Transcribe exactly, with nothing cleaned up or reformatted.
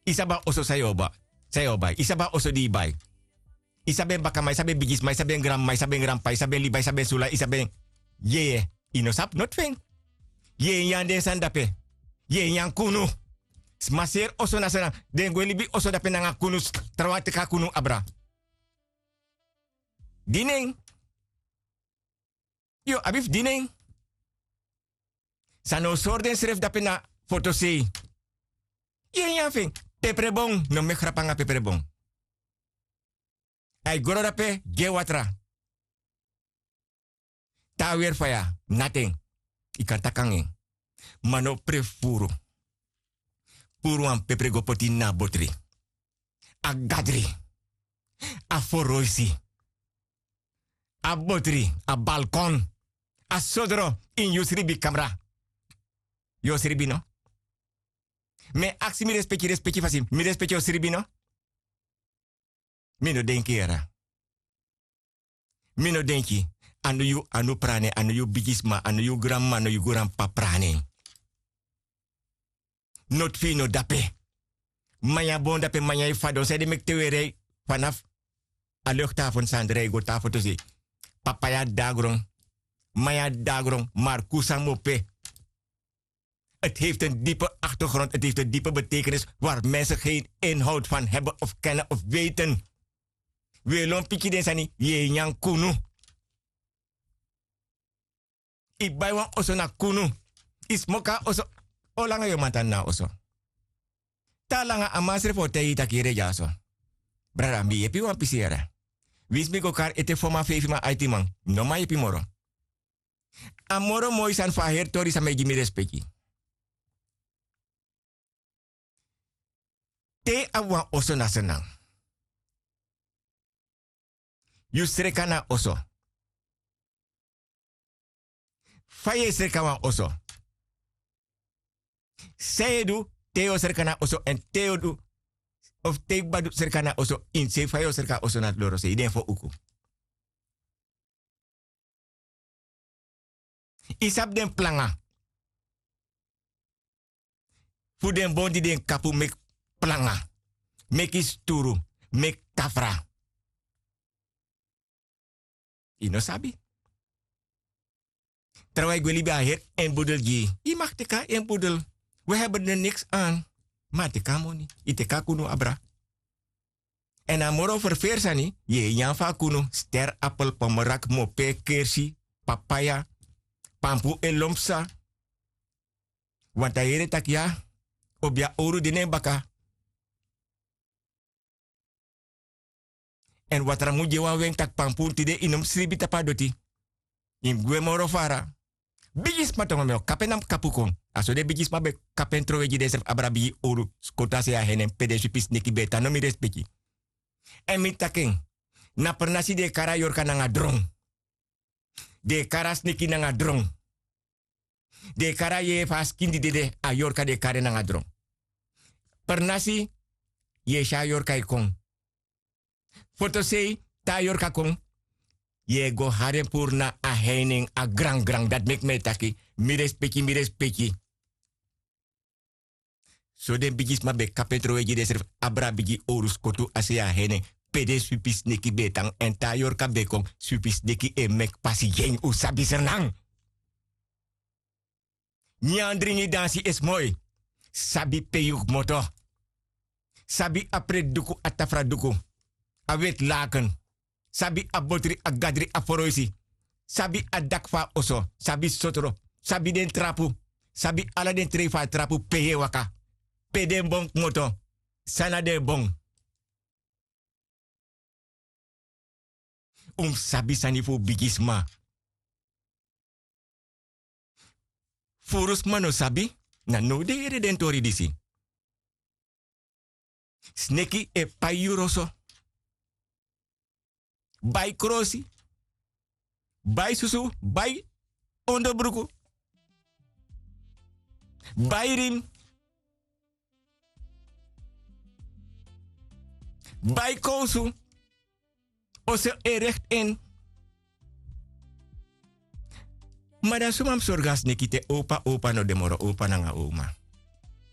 Yu sabi a oso san yu o bai? Yu sabi a oso di yu bai? Yu sabi en bakaman, yu sabi en bigisma, yu sabi en granmama, yu sabi en granpapa, yu sabi en liba, yu sabi en sula, yu sabi en yeye. Yu no sabi noti fu en. Yu e nyan den sani dape. Yu e nyan kunu. Sma seri oso na sani, den gwe libi oso dape nanga kunu. Trawan teki a kunu abra. Dini en. Yu o abi fu dini en. San no sori densrefi dape na fotosei. Yu e nyan fu en. Peperebon, no meki rapu nanga peperebon. A e gro dape gi en watra. Te a weri faya, nati en. Yu kan taki nanga en. Ma no pre fu furu. Furu wan pepere go poti ini a botri. A gadri. A foroisi. A botri, a balkon. A sodro ini yu sribi kamra. Yu o sribi no? Mi e aksi mi respeki, respeki fasi, mi respeki o sribi no? Mi no denki yara. Mi no denki. A no yu, a no prani, a no yu bigisma, a no yu granmama, a no yu granpapa prani. Noti fu yu no dape. Manyan bon dape, manyan e fadon, san ede meki te weri yu fanafu a luktafon sandra yu go tafoto sei. Papaya dagron. Manyan dagron, markusa mope. Het heeft een diepe achtergrond, het heeft een diepe betekenis waar mensen geen inhoud van hebben of kennen of weten. Wi e lon piki den sani, yu e nyan kunu. Yu bai wan oso na kunu. Yu smoki a oso. O langa yu o man tan na a oso? Te a langa a man srefi o taigi yu tak' yu redi a oso. Brada, mi yepi wan pisi yara. Winsi mi go kari ete fo man, feifi man, aiti man, no man yepi moro. A moro moi sani fu a heri tori san mi e gi mi respeki. Te yu abi wan oso na Sranan, yu sreka na oso. Fa yu e sreka wan oso? San yu e du te yu o sreka na oso èn te yu o du, of te yu kba du sreka na oso ini sei, fa yu o sreka oso na dorosei, den fo uku. Yu sabi den planga fu den bon di den kapu meki planga, meki sturu, meki kafra? Yu no sabi. Trawan yu gwe libi a heri en budel gi yu. Yu mag teki a en budel. We hebben er niks aan. Ma a teki a moni, yu teki a kunu abra. Èn a moro ferferi sani, yu e nyan fu a kunu, ster, apel, pomerak, mope, kersi, papaya, pampu e lon psa. Want a yere tak' ya, obi a owru de na en baka. Èn watra mu gi en wan wen tak' pampu tide, yu no mu sribi tapu a doti. Yu mus gwe moro fara. Bigisma tongo, mi o kapu en, na mi kapu kon. A so den bigisma ben kapu en trowe gi densrefi abra bigi owru skotu a sei a henen pe den swipi sneki ben e tan, no mi respeki. Èn mi taki en, na pernasi den e kari a yorka nanga dron. Den e kari a sneki nanga dron. Den e kari a yeye fu a skin di dede, a yorka den e kari en nanga dron. Pernasi yu e si a yorka e kon. Fotosei, te a yorka kon, yu e go hari en puru na a heinen, a grangran. Dati meki mi e taki, mi respeki, mi respeki. So den bigisma ben kapu en trowe gi densrefi abra bigi owru skotu a sei a henen, pe den swipi sneki ben e tan, èn te a yorka ben kon, swipi sneki e meki pasi gi en. Un sabi Sranan. Nyan, dringi, dansi e smoi. Sabi pe yu kmoto. Sabi a preti duku, a tafra duku, a weti laken. Sabi a botri, a gadri, a foroisi. Sabi a daki fu a oso. Sabi sotro. Sabi den trapu. Sabi ala den trei fu a trapu, pe yu e waka, pe den bon kmoto, san na den bon. Un mus sabi sani fu bigisma. Furu sma no sabi, na now den yere den tori disi. Sneki e pai yuru oso. Bai krosi, bai susu, bai onderbruku, bai rim, bai kowsu. Oso e rekti en. Ma dan suma mus sorgu a sneki te opa, opa no de moro, opa nanga oma?